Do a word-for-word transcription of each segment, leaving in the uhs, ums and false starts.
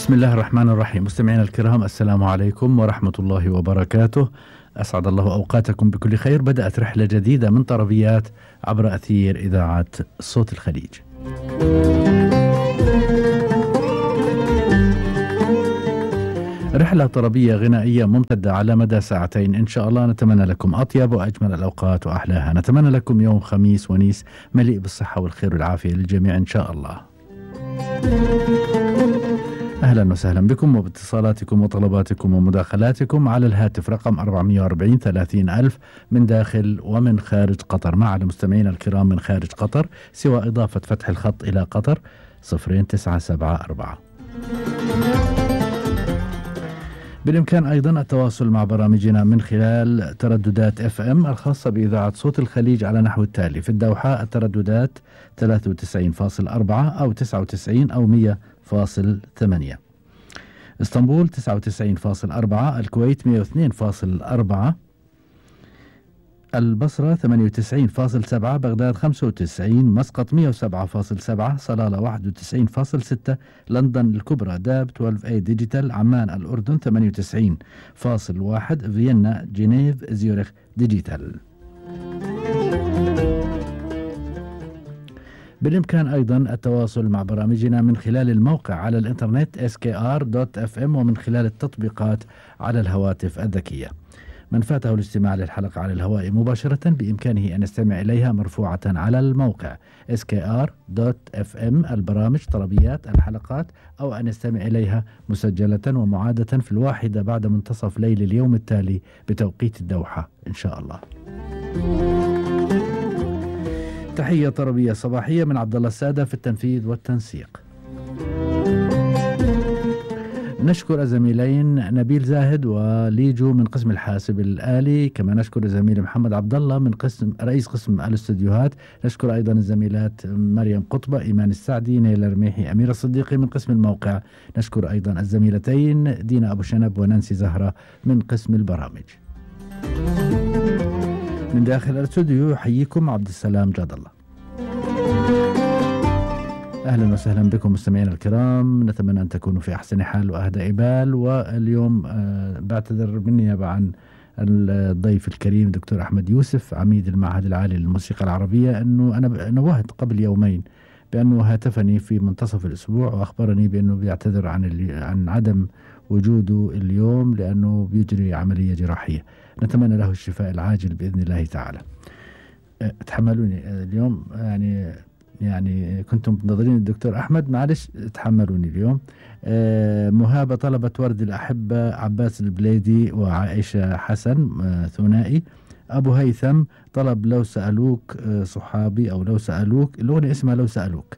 بسم الله الرحمن الرحيم. مستمعينا الكرام، السلام عليكم ورحمة الله وبركاته. أسعد الله أوقاتكم بكل خير. بدأت رحلة جديدة من طربيات عبر أثير إذاعة صوت الخليج. رحلة طربية غنائية ممتدة على مدى ساعتين إن شاء الله. نتمنى لكم أطيب وأجمل الأوقات وأحلاها. نتمنى لكم يوم خميس ونيس مليء بالصحة والخير والعافية للجميع إن شاء الله. أهلا وسهلا بكم وباتصالاتكم وطلباتكم ومداخلاتكم على الهاتف رقم أربعمئة وأربعين ثلاثين ألف من داخل ومن خارج قطر، مع المستمعين الكرام من خارج قطر سوى إضافة فتح الخط إلى قطر صفرين تسعة سبعة أربعة. بالإمكان أيضا التواصل مع برامجنا من خلال ترددات اف ام الخاصة بإذاعة صوت الخليج على نحو التالي: في الدوحة الترددات ثلاثة وتسعين فاصلة أربعة أو تسعة وتسعين أو مئة فاصلة ثمانية، اسطنبول تسعة وتسعين فاصلة أربعة، الكويت مئة واثنين فاصلة أربعة، البصرة ثمانية وتسعين فاصلة سبعة، بغداد خمسة وتسعين، مسقط مئة وسبعة فاصلة سبعة، صلالة واحد وتسعين فاصلة ستة، لندن الكبرى داب اثني عشر اي ديجيتال، عمان الأردن ثمانية وتسعين فاصلة واحد، فيينا جنيف زيورخ ديجيتال. بالإمكان أيضا التواصل مع برامجنا من خلال الموقع على الإنترنت إس كي آر دوت إف إم ومن خلال التطبيقات على الهواتف الذكية. من فاته الاستماع للحلقة على الهواء مباشرة بإمكانه أن يستمع إليها مرفوعة على الموقع إس كي آر دوت إف إم، البرامج طربيات الحلقات، أو أن يستمع إليها مسجلة ومعادة في الواحدة بعد منتصف ليل اليوم التالي بتوقيت الدوحة إن شاء الله. تحية طربية صباحية من عبد الله السادة في التنفيذ والتنسيق. نشكر الزميلين نبيل زاهد وليجو من قسم الحاسب الآلي، كما نشكر الزميل محمد عبد الله من قسم رئيس قسم الاستديوهات. نشكر أيضا الزميلات مريم قطبة، إيمان السعدي، نيلة رميحي، أميرة الصديقي من قسم الموقع. نشكر أيضا الزميلتين دينا أبو شنب ونانسي زهرة من قسم البرامج. من داخل الاستوديو يحييكم عبد السلام جاد الله. أهلا وسهلا بكم مستمعينا الكرام، نتمنى أن تكونوا في أحسن حال وأهدى بال. واليوم آه بعتذر بالنيابة عن الضيف الكريم دكتور أحمد يوسف عميد المعهد العالي للموسيقى العربية، أنه أنا نوهت قبل يومين بأنه هاتفني في منتصف الأسبوع وأخبرني بأنه بيعتذر عن عن عدم وجوده اليوم لأنه بيجري عملية جراحية. نتمنى له الشفاء العاجل بإذن الله تعالى. أه تحملوني اليوم، يعني يعني كنتم منتظرين الدكتور أحمد، معلش تحملوني اليوم. أه مهابة طلبت ورد الأحبة عباس البليدي وعائشة حسن أه ثنائي. أبو هيثم طلب لو سألوك أه صحابي، أو لو سألوك، الأغنية اسمها لو سألوك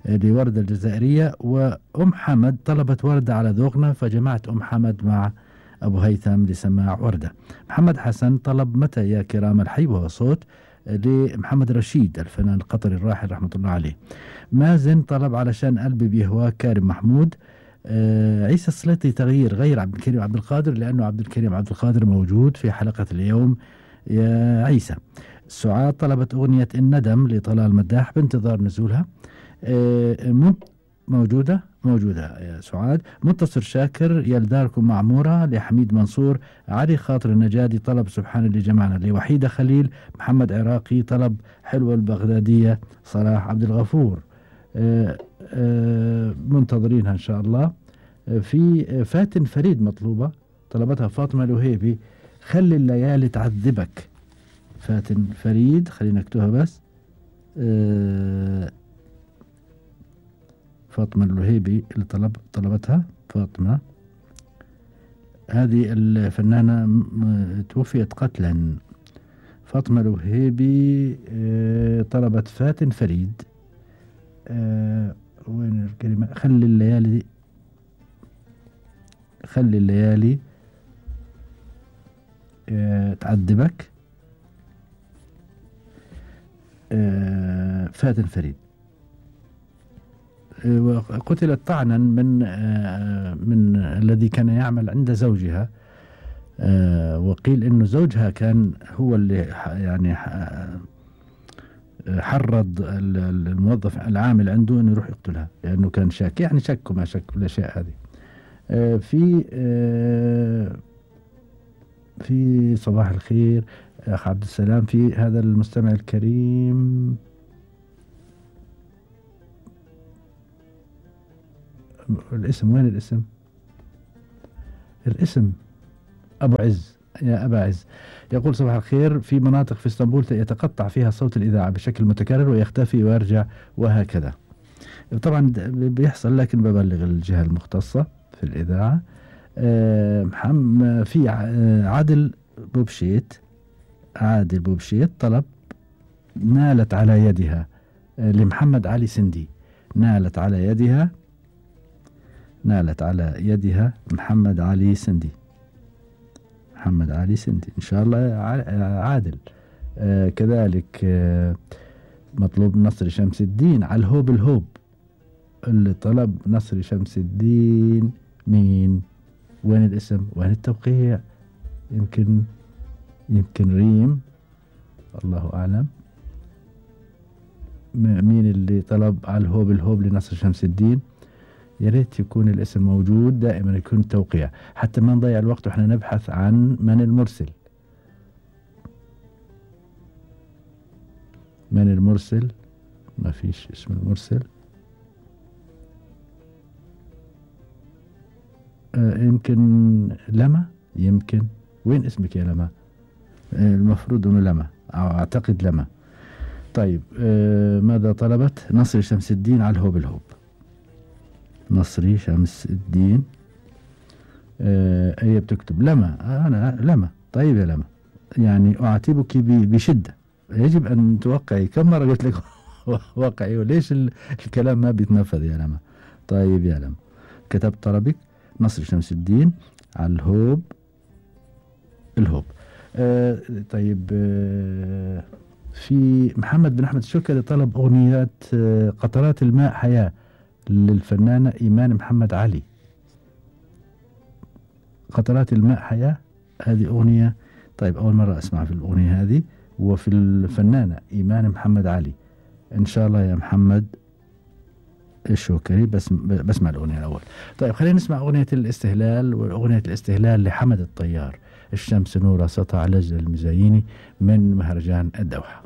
أه لوردة الجزائرية. وأم حمد طلبت وردة على ذوقنا، فجمعت أم حمد مع أبو هيثم لسماع وردة. محمد حسن طلب متى يا كرام الحي وهو صوت لمحمد رشيد الفنان القطري الراحل رحمة الله عليه. مازن طلب علشان قلبي بيهواك كارم محمود. آه عيسى السليطي تغيير غير عبد الكريم عبد القادر لأنه عبد الكريم عبد القادر موجود في حلقة اليوم يا عيسى. سعاد طلبت أغنية الندم لطلال مداح بانتظار نزولها. آه موجودة موجودة يا سعاد. منتصر شاكر يلداركم معمورة لحميد منصور. علي خاطر النجادي طلب سبحان اللي جمعنا لوحيدة خليل. محمد عراقي طلب حلوة البغدادية. صلاح عبد الغفور آآ آآ منتظرينها إن شاء الله. في فاتن فريد مطلوبة طلبتها فاطمة الوهيبي، خلي الليالي تعذبك. فاتن فريد خلينا نكتبها بس. فاطمة الوهيبي اللي طلب طلبتها فاطمة، هذه الفنانة توفيت قتلا. فاطمة الوهيبي طلبت فاتن فريد. وين الكلمة؟ خلي الليالي خلي الليالي تعذبك. فاتن فريد وقتلت طعنا من من الذي كان يعمل عند زوجها، وقيل انه زوجها كان هو اللي يعني حرض الموظف العامل عنده انه يروح يقتلها لانه كان شاك، يعني شك وما شك بالاشياء هذه. آه في آه في صباح الخير أخ عبد السلام، في هذا المستمع الكريم الاسم، وين الاسم؟ الاسم أبو عز، يا أبا عز. يقول صباح الخير، في مناطق في اسطنبول يتقطع فيها صوت الإذاعة بشكل متكرر ويختفي ويرجع وهكذا. طبعا بيحصل، لكن ببلغ الجهة المختصة في الإذاعة. أه محمد في عادل بوبشيت، عادل بوبشيت طلب نالت على يدها لمحمد علي سندي، نالت على يدها نالت على يدها محمد علي سندي، محمد علي سندي إن شاء الله عادل. آه كذلك آه مطلوب نصر شمس الدين على الهوب الهوب، اللي طلب نصر شمس الدين مين؟ وين الاسم؟ وين التوقيع؟ يمكن يمكن ريم، الله أعلم. مين اللي طلب على الهوب الهوب لنصر شمس الدين؟ يا ريت يكون الاسم موجود، دائما يكون التوقيع حتى ما نضيع الوقت واحنا نبحث عن من المرسل. من المرسل؟ ما فيش اسم المرسل. آه يمكن لما، يمكن. وين اسمك يا لما؟ آه المفروض انه لما، اعتقد لما. طيب آه ماذا طلبت؟ نصر شمس الدين على الهوب الهوب. نصري شمس الدين. آه هي بتكتب لما، آه أنا لما. طيب يا لما، يعني أعاتبك بشدة، يجب أن توقعي. كم مرة قلت لك وقعي، وليش الكلام ما بيتنفذ يا لما؟ طيب يا لما، كتبت طلبك نصر شمس الدين على الهوب الهوب. آه طيب آه في محمد بن أحمد الشركري طلب أغنيات آه قطرات الماء حياة للفنانة إيمان محمد علي. قطرات الماء حياة، هذه أغنية. طيب أول مرة أسمع في الأغنية هذه، وفي الفنانة إيمان محمد علي. إن شاء الله يا محمد الشوكري، بس بسمع الأغنية الأول. طيب خلينا نسمع أغنية الاستهلال، وأغنية الاستهلال لحمد الطيار، الشمس نورة سطع لجل المزاييني من مهرجان الدوحة.